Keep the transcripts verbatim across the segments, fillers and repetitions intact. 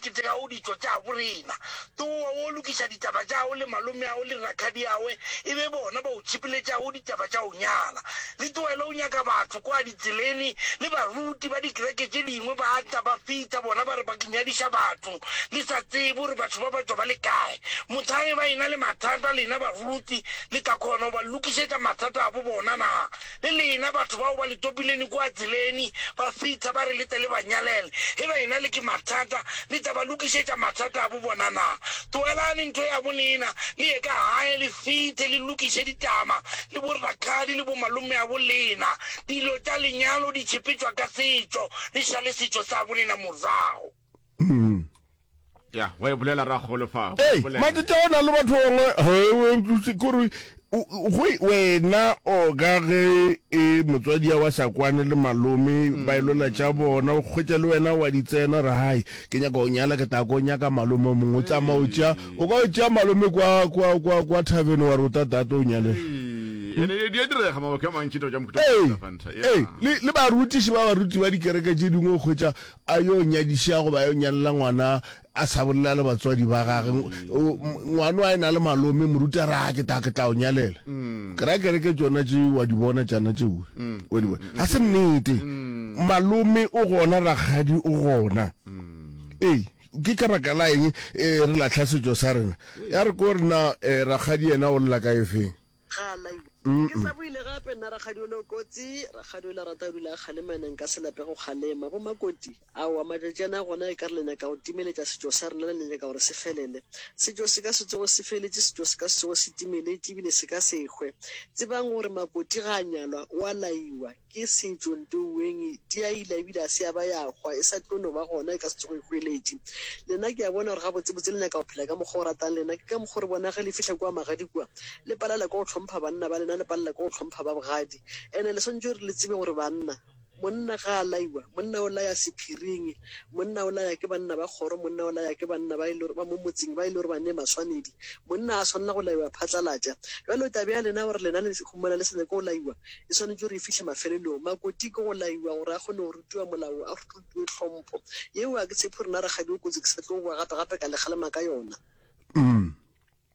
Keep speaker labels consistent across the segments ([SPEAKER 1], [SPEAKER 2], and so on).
[SPEAKER 1] ketekago ditšo tša borena. Towa wo lokiša ditaba tšago le malomeago le rakgadiawe, e be bona ba o tšhipeletšago ditaba tša go nyala. Le tlohele go nyaka batho kwa ditseleni, le baruti ba dikereke tše dingwe ba tla ba fihla bona ba re ba nyadiša batho, le sa tsebe gore batho ba ba tšwa ba le kae. Mohlang ba ena le mathata lena baruti le tla kgona go ba lokišetša mathata a bo bona na? Le lena batho bao ba le topileni kua tseleni, ba fihla ba re le tle le ba nyalele, ge ba ena le ke mathata, le tla ba lokišetša mathata a bo bona na? Tlogelani ntho ya bo lena, le ye ka gae, le fihle le lokiše ditaba le bo rakgadi le bo malomeabo lena. Dilo tša lenyalo di tšhepetšwa ka setšo, le šale setšo sa bo lena morago.
[SPEAKER 2] Ya, wa e bolela rakgolo fa.
[SPEAKER 3] Ei, matete go na le batho bangwe kore go wena o ka ge e motswadi wa sa kwane le malome mm. ba ilola tša bona o kgwetša le wena wa di tsena re hai ke nyaka go nyala ke tla ko nyaka malome o mongwe o tsamaya o tšea o ka o tšea malome kwa kwa kwa kwa thavene wa re o tla tata o nyalela le barutiši ba baruti ba dikereke tše dingwe o kgwetša a yo nyadiša goba a yo nyalela ngwana a sa bolela le batswadi ba gage, ngwano a e na le malome, moruti a re, a ke tla, ke tla o nyalela. Mm. Ke ra kereke tšona tše wa di bona tšana tšeo, mm. wa di bona. Ga se nnete. Mm. Malome o gona, rakgadi o gona. Ee, ke ka baka la eng eh, re lahla setšo sa rena? Ya re ko rena eh, rakgadi yena o lla ka efeng?
[SPEAKER 4] Ga a laiwa. Ke sa boile gape nna rakgadi o le o kotsi, rakgadi o le rata go dula a kgalema ene nka se lape go kgalema. Bo Makoti, aowa matšatši ana gona e ka re le nyaka go timeletša setšo sa rena le nyaka gore se felele. Setšo se ka se tsoge se feletše, setšo se ka se tsoge se timeletše ebile se ka se hwe. Tsebang gore Makoti ga a nyalwa o a laiwa. Ke setšo ntoueng, di a ila ebile a se ya ba ya hwa, e sa tlo no ba gona, e ka se tsoge e hweletše. Lena ke a bona gore gabotsebotse le nyaka go phela ka mokgwa o ratang lena. Ke ka mokgwa o re bona ge le fihla kua magadi kua, le palela ke go hlompha banna ba lena, le palela ke go hlompha ba bogadi. Ene le swanetše gore le tsebe gore banna, monna ga a laiwa, monna o laya sephiring, monna o laya ke banna ba kgoro, monna o laya ke banna ba e le gore ba mo motseng, ba e le gore ba ne maswanedi. Monna ga a swanela go laiwa phatlalatša. Bjalo taba ya lena gore lena le humana le sa nyake go laiwa, e swanetše gore e fihle mafelelong. Makoti ke go laiwa gore a kgone go rutiwa molao, a rutiwe tlhompho. Yeo ga ke tshepe gore na rakgadi o kotsi ke sa tlo boa gape gape ka le kgalema ka yona.
[SPEAKER 3] Mm.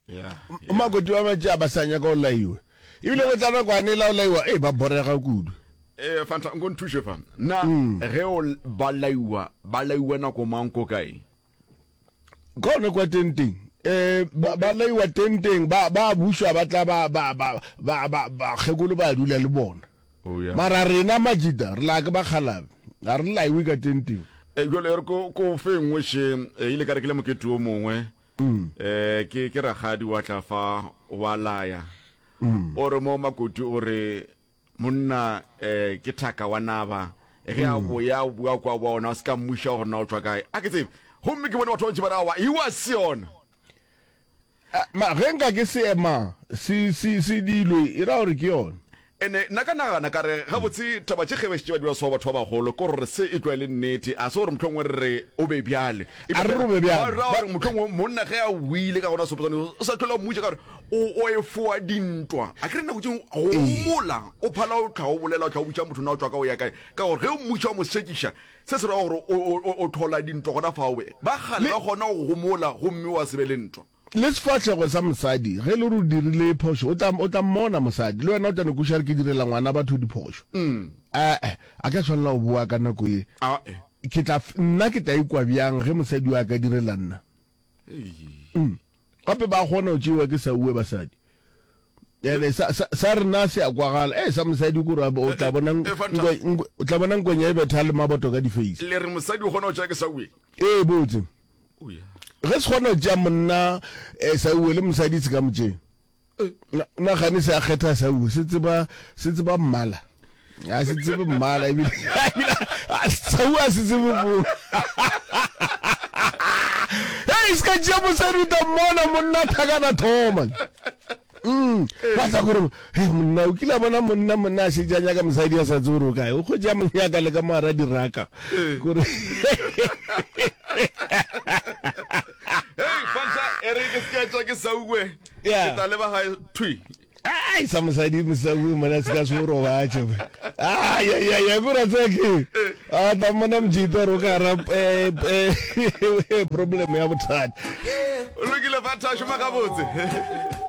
[SPEAKER 2] Yeah, yeah.
[SPEAKER 3] Makoti ba matši a ba sa nyaka go laiwa. Ebile go tla nakwane la go laiwa, ee ba borega kudu.
[SPEAKER 2] Eh, Fanta, nko nthuše fa. Na ge o ba laiwa, ba laiwa nako mang ko kae?
[SPEAKER 3] Ka gona kwa tenteng, eh, ba, ba laiwa tenteng, ba, ba bušwa, ba tla ba, ba, ba, ba, ba, bakgekolo ba dula le bona.
[SPEAKER 2] Oh, yeah.
[SPEAKER 3] Mara rena Majita, re laya ke bakgalabe, ga re laiwe ka tenteng.
[SPEAKER 2] Eh, jwale e re ko, ko fe nngwe še, eh, ile ka re ke le mokete o mongwe,
[SPEAKER 3] Mm.
[SPEAKER 2] eh, ke, ke rakgadi wa tla fa, wa laya.
[SPEAKER 3] Mm.
[SPEAKER 2] O re mo makoti o re, Monna eh, ke thaka wa naba, ge a boya o bua kwa boa ona o se ka mmuša gore na o tšwa kae. A ke tsebe. Gomme ke bone batho ba bantši ba re aowa, ewa se yona.
[SPEAKER 3] A, ma, ge nka ke se ema se, se, se dilwe, e ra gore ke yona.
[SPEAKER 2] Ene nna ka nagana ka re, gabotse taba tše ge ba šetše ba dira so batho ba bagolo, ke gore se e tloga e le nnete. A se gore mohlomongwe re re o be bjale.
[SPEAKER 3] A re re o be bjale.
[SPEAKER 2] Ba ra gore mohlomongwe monna ge a boile ka gona seoposane, o sa tlhola o mmuša ka gore O, o efoa dintwa. A ke re nako tše dingwe go homola, o phala o tlha o bolela, o tlha o botša motho na o tšwa ka o ya kae. Ka gore ge o mmuša o mo sekiša, se se ra gore o, o, o, o thola dintwa gona fao. Ba kgale ba kgona go homola gomme wa se be le ntwa.
[SPEAKER 3] Le sefahlego sa mosadi, ge e le gore o dirile phošo, o tla, o tla mmona mosadi. Le wena o tla no kwešiša gore ke direla ngwana batho diphošo. Ae, a ka swanela go boa ka nako ye.
[SPEAKER 2] Ae.
[SPEAKER 3] Ke tla, nna ke tla ikwa bjang ge mosadi yo a ka direla nna?
[SPEAKER 2] Ei.
[SPEAKER 3] Gape ba kgona go tšewa ke sauwe basadi. Ene sa, sa, sa rena se a kwagala. E, sa mosadi kore o tla bona
[SPEAKER 2] E, Fanta.
[SPEAKER 3] nkwe, nkwe, o tla bona nkwenya e betha le maboto ka di-face.
[SPEAKER 2] Le re mosadi o kgona go tšea ke sauwe?
[SPEAKER 3] Ee, botse.
[SPEAKER 2] Oh, yeah.
[SPEAKER 3] Ge se kgona go tšea monna eh, sauwe le mosadi se ka mo tšea. Na, na gane se a kgetha sauwe, se tseba, se tseba mmala. A se tsebe mmala ebile, ebile sauwe a se tsebe bo. Hei, se ka tšea mosadi o tla mmona monna thakana thoma. Mm, ba tla gore, hei monna, o kile a bona monna, monna a šetše a nyaka mosadi a sa tsebe gore o kae. O kgwetše a mo nyaka le ka mo gara diraka. Kore
[SPEAKER 2] Hei, Fanta, e re ke se ka tšwa ke sauwe.
[SPEAKER 3] Yeah.
[SPEAKER 2] Ke tla leba gae thwi.
[SPEAKER 3] Ai sa mosadi mosadi mona se ka se o robatše. Ai ai ai ai bora tseke. A tla mmona mojita gore o ka ra eh, eh, problem ya bothata.
[SPEAKER 2] O lokile Fata, šoma gabotse.